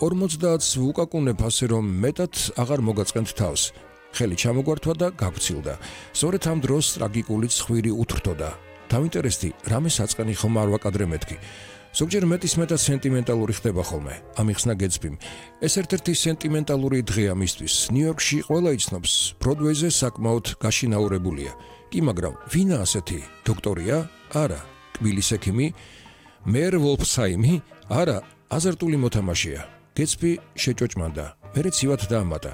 50-ს ვუკაკუნებ ასე რომ მეტად აღარ მოგაწყენთ თავს. ხელი ჩამოგვართვა და გავცილდა. სწორედ ამ დროს ტრაგიკული ცხვირი უთრთოდა. დავინტერესდი, რამე საწყენი ხომ არ ვაკადრე მეთქი. ზოგჯერ მეტისმეტად სენტიმენტალური ხდება ხოლმე. ამიხსნა გეცბიმ. ეს ერთ-ერთი სენტიმენტალური დღეა მისთვის. ნიუ-იორკში ყველა იცნობს, ბროდვეიზე საკმაოდ გაშინაურებულია. კი, მაგრამ ვინა ასეთი? დოქტორია? არა. კბილის ექიმი? მერ ვოლფსაიმი? არა, აზარტული მოთამაშეა. გეცბი შეჭოჭმანდა. მერე ცივად დაამატა.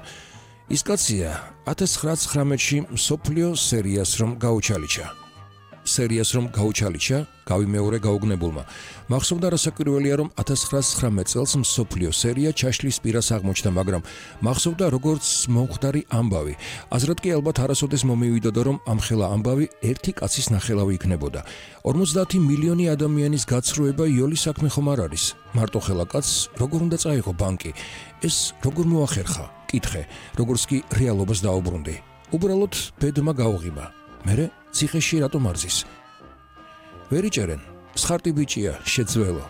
ის კაცია 1919-ში მსოფლიო სერიას რომ გაუჩალიჩა, გავიმეორე გაუგნებულმა. მახსოვდა რასაკვირველია, რომ 1919 წელს მსოფლიო სერია ჩაშლის პირას აღმოჩნდა, მაგრამ მახსოვდა როგორც მომხდარი ამბავი. აზრად კი ალბათ არასოდეს მომივიდოდა, რომ ამ ხელა ამბავი ერთი კაცის ნახელავი იქნებოდა. 50 მილიონი ადამიანის გაცრუება იოლის საქმე ხომ არ არის? მარტო ხელა კაცს როგორ უნდა წაიღო ბანკი? ეს როგორ მოახერხა? კითხე, როგორც კი რეალობას დაუბრუნდი. უბრალოდ ბედმა გაუღიმა. მერე ციხეში რატომ არზის? ვერ იჭერენ. სხარტი ბიჭია, შეძველო.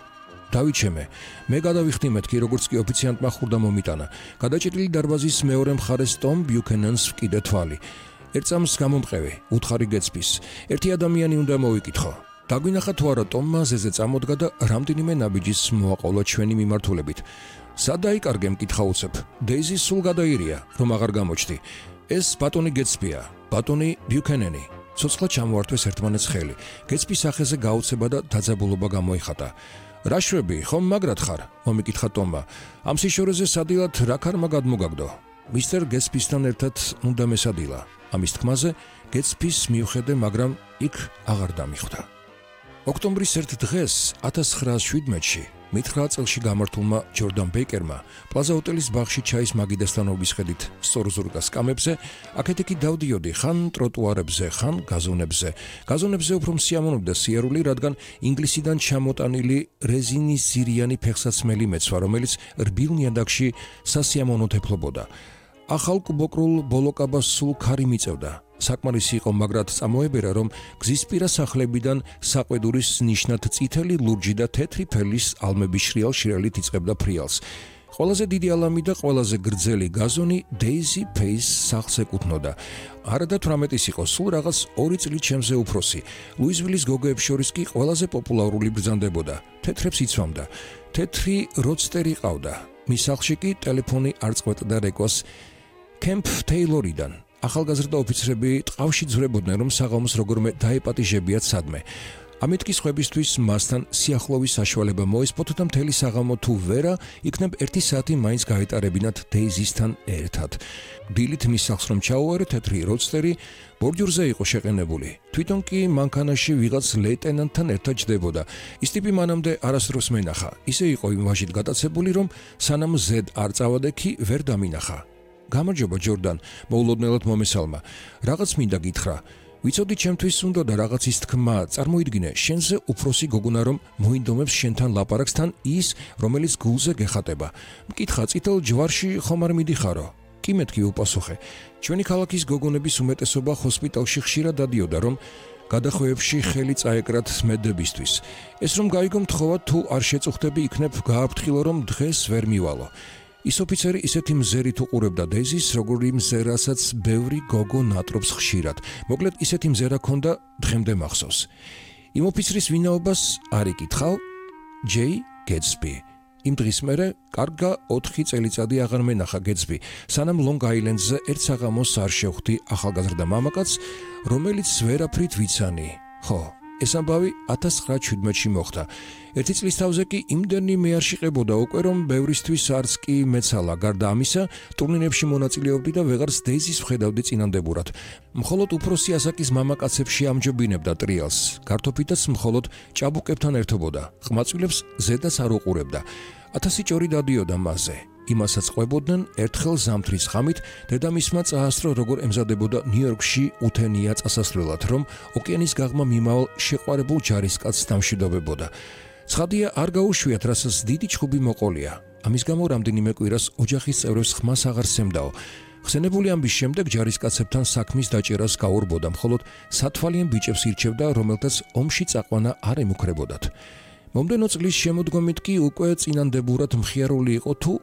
დავიჩემე. მე გადავიხდი მეთქი, როგორც კი ოფიციანტმა ხურდა მომიტანა. გადაჭრილი დარბაზის მეორე მხარეს ტომ ბიუქენენს ვკიდე თვალი. ერთ წამს გამომყევი, უთხარი გეცბის. ერთი ადამიანი უნდა მოვიკითხო. დაგვინახა თუ არა ტომმა ზეზე წამოდგა და რამდენიმე ნაბიჯის მოაყოლა ჩვენი მიმართულებით. სად დაიკარგე მკითხა უცებ. დეიზი სულ გადაირია, რომ აღარ გამოჩდი. ეს ბატონი გეცბია, ბატონი ბიუქენენი. ცოცხლად ჩამოართვეს ერთმანეთს ხელი. გეცბის სახეზე გაუცება და დაძაბულობა გამოიხატა. რა შვები, ხომ მაგრად ხარ? მომიკითხა ტომმა. ამ სიშორეზე სადილად რა ქარმა გადმოგაგდო? მისტერ გეცბისთან ერთად უნდა მესადილა. ამის თქმაზე გეცბის მიუხედე, მაგრამ იქ აღარ დამიხვდა. ოქტომბრის ერთ დღეს 1917-ში 9 წელში გამართულმა ჯორდან ბეიკერმა პლაზა ჰოტელის ბაღში ჩაის მაგიდასთან ობისხედით სწორზურგა სკამებზე, აქეთ-იქი დავდიოდი ხან ტროტუარებზე, ხან გაზონებზე. გაზონებზე უფრო მსიამოვნებდა სიარული, რადგან ინგლისიდან ჩამოტანილი რეზინის ზირიანი ფეხსაცმელი მეცვა, რომელიც რბილ ნიადაგში სასიამოვნოდ ეფლობოდა. ახალ კუბოკრულ ბოლოკაბას სულ ქარი მიწევდა. საკმარისი იყო მაგრად წამოებერა, რომ გზისპირა სახლებიდან საყვედურის ნიშნად წითელი ლურჯი და თეთრი ფერლის ალმების შრიალ-შრიალით იწყებდა ფრიალს. ყველაზე დიდი ალამი და ყველაზე გრძელი გაზონი დეიზი ფეის სახლს ეკუთვნოდა. არა და 18-ის იყო, სულ რაღაც 2 წლით ჩემზე უფროსი. ლუიზვილის გოგოებს შორის კი ყველაზე პოპულარული ბრძანდებოდა. თეთრებს იცვამდა. თეთრი როდსტერი ყავდა. მის სახლში კი ტელეფონი არ წყვეტდა რეკვას კემპ თეილორიდან. ახალგაზრდა ოფიცრები ტყავში ძვრებოდნენ, რომ საღამოს როგორმე დაეპატიჟებიათ სადმე. ამით კი სხვებისთვის მასთან სიახლოვის საშუალება მოესპოთ და მთელი საღამო თუ ვერა, იქნებ 1 საათი მაინც გაეტარებინათ დეიზისთან ერთად. დილით მის სახლს რომ ჩაუვარე, თეთრი როდსტერი ბორჯურზე იყო შეყენებული. თვითონ კი მანქანაში ვიღაც ლეიტენანტთან ერთად ჯდებოდა. ის ტიპი მანამდე არასდროს მენახა. ისე იყო იმ ვაჟით გატაცებული, რომ სანამ ზედ არ წავადექი, ვერ დამინახა. გამარჯობა ჯორდან, მოულოდნელად მომესალმა. რაღაც მინდა გითხრა. ვიცოდი ჩემთვის უნდა და რაღაცის თქმა, წარმოიდგინე, შენზე უფროსი გოგონა რომ მოინდომებს შენთან ლაპარაკს თან ის, რომელიც გულზე გეხატება. მკითხა, წითელ ჯვარში ხომ არ მიდიხარო? კი მეთქი უპასუხე. ჩვენი ქალაქის გოგონების უმეტესობა ჰოსპიტალში ხშირად დადიოდა, რომ გადახვეებში ხელი წაეკრათ მედდებისთვის. ეს რომ გაიგო მთხოვა თუ არ შეწუხდები, იქნებ გააფრთხილო, რომ დღეს ვერ მივალო. ის ოფიცერი ისეთი მზერით უყურებდა დეიზის, როგორი მზერასაც ბევრი გოგო ნატრობს ხშირად. მოკლედ ისეთი მზერა ქონდა, დღემდე მახსოვს. იმ ოფიცრის ვინაობას არ იკითხავ? ჯეი გეცბი. იმ დღის მერე კარგა 4 წელიწადი აღარ მენახა გეცბი, სანამ ლონგ-აილენდზე ერთ საღამოს არ შევხვდი ახალგაზრდა მამაკაცს, რომელიც ვერაფრით ვიცანი. ხო, ეს ამბავი 1917-ში მოხდა. 1 წლის თავზე კი იმდენი მე არ შიყებოდა უკვე, რომ ბევრისთვის არც კი მეცალა. გარდა ამისა, ტურნირებში მონაწილეობდი და ვეღარც დეიზის ვხედავდი წინამდებურად. მხოლოდ უფროსი ასაკის მამაკაცებში ამჯობინებდა ტრიალს. გართოფითაც მხოლოდ ჭაბუკებთან ერთობოდა. ყმაწვილებს ზედაც არ უყურებდა. 1000 ჭორი დადიოდა მასზე. იმასაც ყვებოდნენ ერთხელ ზამთრის ღამით, დედამისმა წაასწრო, როგორ ემზადებოდა ნიუ-იორკში უთენია წასასვლელად, რომ ოკეანის გაღმა მიმავალ შეყვარებულ ჯარისკაცს დამშვიდობებოდა. ცხადია, არ გაუშვიათ, რასაც დიდი ჩხუბი მოყოლია. ამის გამო რამდენიმე კვირას ოჯახის წევრებს ხმას აღარ სცემდაო. ხსენებული ამბის შემდეგ ჯარისკაცებთან საქმის დაჭერას გაურბოდა, მხოლოდ სათვალიან ბიჭებს ირჩევდა, რომელთაც ომში წაყვანა არ ემუქრებოდათ. მომდენო წლის შემოდგომით კი უკვე წინანდებურად მხიარული იყო თუ